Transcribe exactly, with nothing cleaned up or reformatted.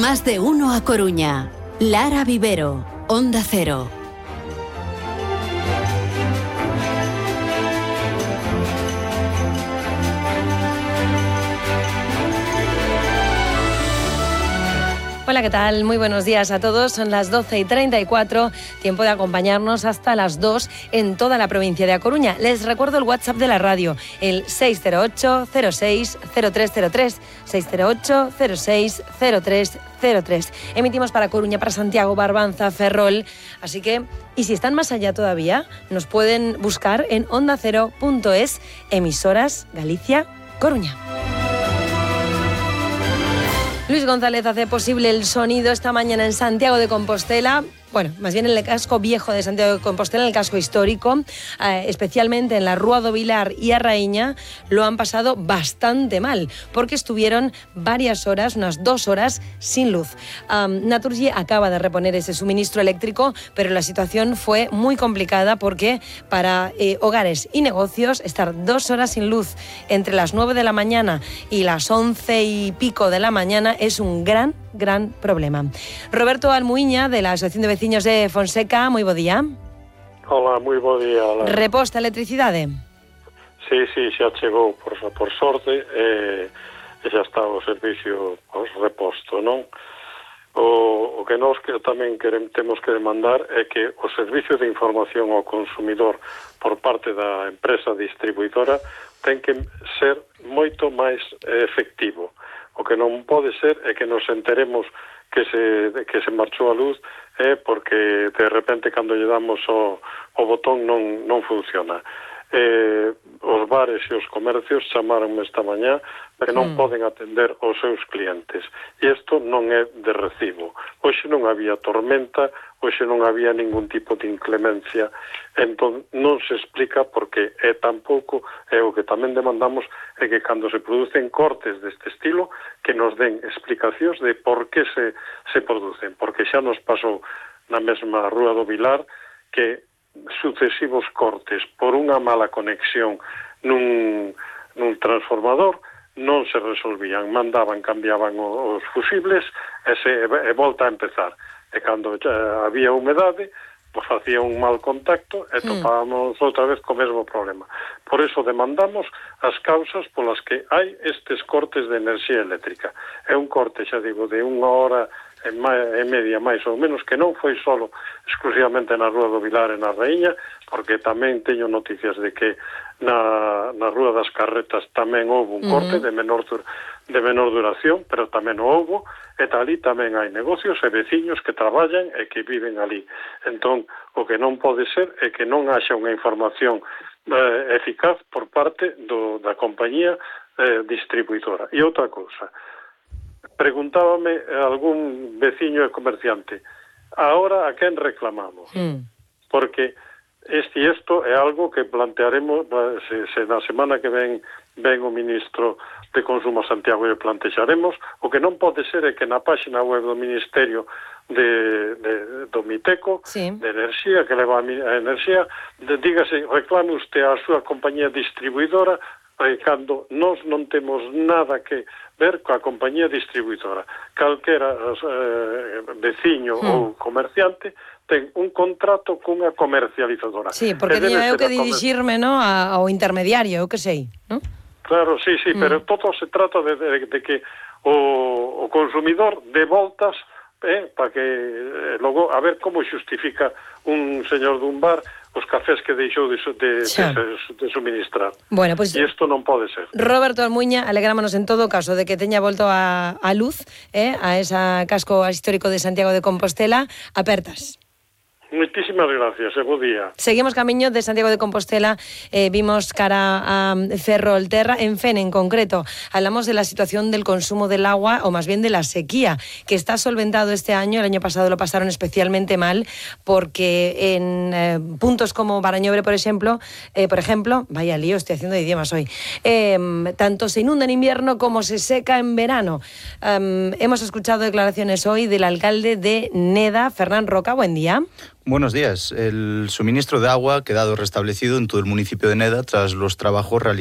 Más de uno a Coruña. Lara Vivero, Onda Cero. Hola, ¿qué tal? Muy buenos días a todos. Son las doce y treinta y cuatro, tiempo de acompañarnos hasta las dos en toda la provincia de A Coruña. Les recuerdo el WhatsApp de la radio, el seis cero ocho cero seis cero tres cero tres, seis cero ocho cero seis cero tres cero tres. Emitimos para Coruña, para Santiago, Barbanza, Ferrol, así que, y si están más allá todavía, nos pueden buscar en onda cero punto es, emisoras Galicia, Coruña. Luis González hace posible el sonido esta mañana en Santiago de Compostela. Bueno, más bien en el casco viejo de Santiago de Compostela, en el casco histórico, eh, especialmente en la Rúa do Vilar y a Raíña, lo han pasado bastante mal, porque estuvieron varias horas, unas dos horas, sin luz. Um, Naturgy acaba de reponer ese suministro eléctrico, pero la situación fue muy complicada porque para eh, hogares y negocios estar dos horas sin luz entre las nueve de la mañana y las once y pico de la mañana es un gran, gran problema. Roberto Almuiña, de la Asociación de Vecinos de Fonseca, moi bo día. Hola, moi bo día. Hola. Reposta a electricidade? Sí, sí, xa chegou por, por sorte e, e xa está o servicio os reposto, non? O, o que nós que tamén queremos, temos que demandar é que o servicio de información ao consumidor por parte da empresa distribuidora ten que ser moito máis efectivo. O que non pode ser é que nos enteremos que se, que se marchou a luz é porque de repente cando lle damos o, o botón non, non funciona. Eh, os bares e os comercios chamaronme esta mañá que non mm. poden atender os seus clientes e isto non é de recibo. Hoxe non había tormenta, hoxe non había ningún tipo de inclemencia, entón non se explica porque é tampouco, é o que tamén demandamos é que cando se producen cortes deste estilo que nos den explicacións de por que se, se producen, porque xa nos pasou na mesma Rúa do Vilar que sucesivos cortes por unha mala conexión nun, nun transformador non se resolvían, mandaban, cambiaban os fusibles e, se, e volta a empezar e cando xa había humedade pues facía un mal contacto e topábamos mm. outra vez co mesmo problema. Por eso demandamos as causas polas que hai estes cortes de enerxía eléctrica. É un corte, xa digo, de unha hora e media máis ou menos, que non foi solo exclusivamente na Rúa do Vilar e na Raíña, porque tamén teño noticias de que na, na Rúa das Carretas tamén houve un corte uh-huh. de menor de menor duración, pero tamén o houve, e ali tamén hai negocios e veciños que traballan e que viven ali. Entón, o que non pode ser é que non haxa unha información eh, eficaz por parte do, da compañía eh, distribuidora. E outra cousa, preguntábame algún veciño e comerciante, ahora a quen reclamamos? Mm. Porque este isto é algo que plantearemos, se, se na semana que ven ven o ministro de Consumo a Santiago e plantexaremos. O que non pode ser é que na páxina web do Ministerio de, de, do Miteco, sí. de Enerxía, que leva a enerxía, de, dígase, reclame usted a súa compañía distribuidora e cando nós non temos nada que ver coa compañía distribuidora. Calquera eh, veciño hmm. ou comerciante ten un contrato cunha comercializadora. Sí, porque teño eu que dirixirme, no, ao intermediario, eu que sei, non? Claro, sí, sí, hmm. pero todo se trata de, de, de que o, o consumidor dé voltas eh, para que eh, logo a ver como xustifica un señor dun bar os cafés que deixou de, de, de, de suministrar. Bueno, pues, e isto non pode ser. Roberto Almuiña, alegrámonos en todo caso de que teña volto a, a luz eh, a esa casco histórico de Santiago de Compostela apertas. Moitísimas gracias, e bo día. Seguimos camiño de Santiago de Compostela, eh, vimos cara a Ferrolterra, en Fene en concreto. Hablamos de la situación del consumo del agua, o más bien de la sequía, que está solventado este año. El año pasado lo pasaron especialmente mal, porque en eh, puntos como Barañobre, por ejemplo, eh, por ejemplo, vaya lío, estoy haciendo de idiomas hoy, eh, tanto se inunda en invierno como se seca en verano. Um, hemos escuchado declaraciones hoy del alcalde de Neda, Fernán Roca. Buen día. Buenos días. El suministro de agua ha quedado restablecido en todo el municipio de Neda tras los trabajos realizados